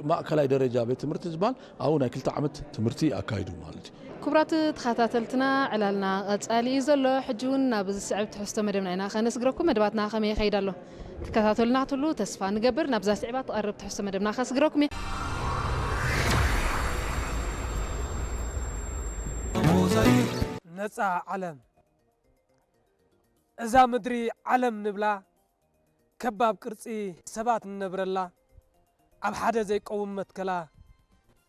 ማእከላይ ደረጃ ቤት ትምህርቲ ዝበሃል ኣብኡ ናይ ክልተ ዓመት ትምህርቲ ኣካይዱ ማለት እዩ። ክቡራት ተኸታተልትና፣ ዕላልና ቀጻሊ እዩ ዘሎ። ሕጂ እውን ናብ ዝስዕብ ትሕዝቶ መደብና ኢና ከነስግረኩም። መደባትና ከመይ ይኸይድ ኣሎ? ትከታተሉና ክትህሉ ተስፋ ንገብር። ናብዛ ስዕባ ትቐርብ ትሕዝቶ መደብና ከስግረኩም እየ። ነጻ ዓለም። እዛ ምድሪ ዓለም ንብላ፣ ከባብ ቅርጺ ሰባት ንነብረላ፣ ኣብ ሓደ ዘይቀውም መትከላ፣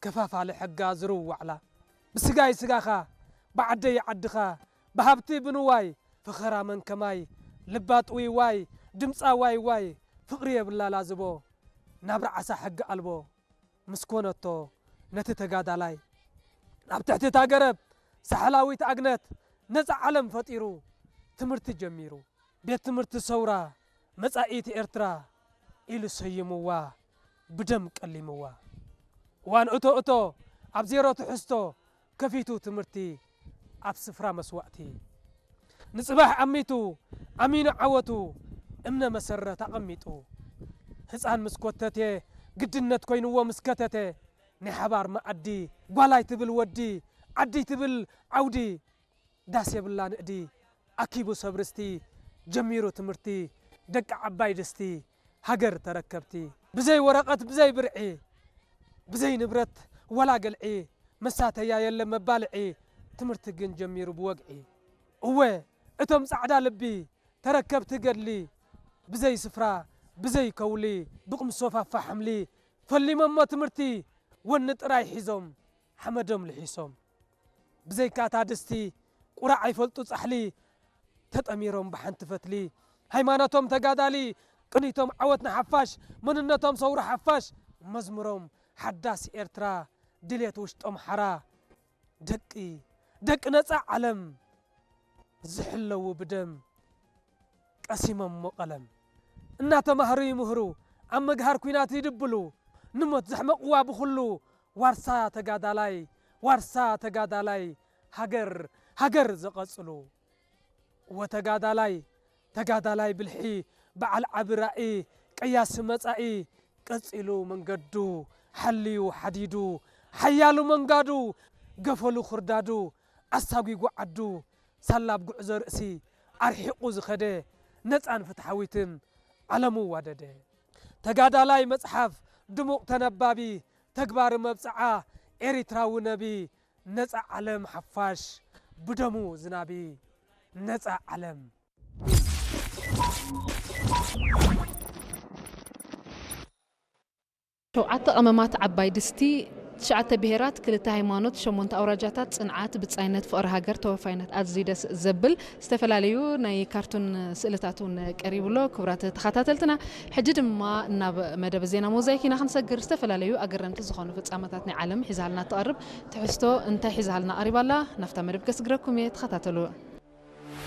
ከፋፋሊ ሕጋ ዝርዋዕላ፣ ብስጋይ ስጋኻ፣ ብዓደይ ዓድኻ፣ ብሃብቲ ብንዋይ፣ ፈኸራ መን ከማይ፣ ልባ ጥውይዋይ፣ ድምጻ ዋይ ዋይ፣ ፍቕሪ የብላ ላዝቦ፣ ናብራ ዓሳ ሕጊ ኣልቦ ምስ ኮነቶ ነቲ ተጋዳላይ፣ ኣብ ትሕቲ እታ ገረብ ሳሕላዊት ኣግነት ነጻ ዓለም ፈጢሩ ትምህርቲ ጀሚሩ። ቤት ትምህርቲ ሰውራ መጻኢት ኤርትራ ኢሉ ሰይምዋ፣ ብደም ቀሊምዋ። እዋን እቶ እቶ ኣብ ዜሮ ትሕዝቶ ከፊቱ ትምህርቲ ኣብ ስፍራ መስዋእቲ። ንጽባሕ ኣሚቱ ኣሚኑ ዓወቱ እምነ መሰረት ኣቐሚጡ። ህጻን ምስ ኮተቴ ግድነት ኮይንዎ ምስ ከተተ ናይ ሓባር መኣዲ ጓላይ ትብል ወዲ ዓዲ ትብል ዓውዲ ዳስ የብላ ንእዲ ኣኪቡ ሰብ ርስቲ ጀሚሩ ትምህርቲ ደቂ ዓባይ ድስቲ ሃገር ተረከብቲ ብዘይ ወረቐት ብዘይ ብርዒ ብዘይ ንብረት ወላ ገልዒ መሳተያ የለ መባልዒ ትምህርቲ ግን ጀሚሩ ብወግዒ እወ እቶም ጻዕዳ ልቢ ተረከብቲ ገድሊ ብዘይ ስፍራ ብዘይ ከውሊ ብቕምሶፋፋ ሓምሊ ፈሊሞሞ ትምህርቲ ወኒ ጥራይ ሒዞም ሓመዶም ልሒሶም ብዘይካ እታ ድስቲ ቁራዕ ኣይፈልጡ ጻሕሊ ተጠሚሮም ብሓንቲ ፈትሊ ሃይማኖቶም ተጋዳሊ ቅኒቶም ዓወት ንሓፋሽ መንነቶም ሰውሪ ሓፋሽ መዝሙሮም ሓዳስ ኤርትራ ድሌት ውሽጦም ሓራ ደቂ ደቂ ነጻ ዓለም ዝሕለዉ ብደም ቀሲሞሞ ቀለም እናተማህሩ ይምህሩ ኣብ መግሃር ኲናት ይድብሉ ንሞት ዘሕመቕዋ ብኹሉ ዋርሳ ተጋዳላይ ዋርሳ ተጋዳላይ ሃገር ሃገር ዘቐጽሉ ወተጋዳላይ ተጋዳላይ ብልሒ በዓል ዓቢ ራኢ ቀያሲ መጻኢ ቀጺሉ መንገዱ ሓልዩ ሓዲዱ ሓያሉ መንጋዱ ገፈሉ ክርዳዱ ኣሳጒጉ ዓዱ ሳላ ኣብ ጉዕዞ ርእሲ ኣርሒቑ ዝኸደ ነጻን ፍትሓዊትን ዓለሙ ዋደደ ተጋዳላይ መጽሓፍ ድሙቕ ተነባቢ ተግባሪ መብጽዓ ኤሪትራዊ ነቢ ነጻ ዓለም ሓፋሽ ብደሙ ዝናቢ ነጻ ዓለም። ሸውዓተ ቀመማት ዓባይ ድስቲ፣ ትሽዓተ ብሄራት፣ ክልተ ሃይማኖት፣ ሸሞንተ ኣውራጃታት፣ ጽንዓት፣ ብጻይነት፣ ፍቕሪ ሃገር፣ ተወፋይነት፣ ኣዝዩ ደስ ዘብል። ዝተፈላለዩ ናይ ካርቱን ስእልታት እውን ቀሪቡ ኣሎ። ክቡራት ተኸታተልትና፣ ሕጂ ድማ ናብ መደብ ዜና ሞዛይክ ኢና ክንሰግር። ዝተፈላለዩ ኣገረምቲ ዝኾኑ ፍጻመታት ናይ ዓለም ሒዛልና ትቐርብ ትሕዝቶ እንታይ ሒዛልና ቀሪባ ኣላ? ናብታ መደብ ከስግረኩም እየ፣ ተኸታተሉ።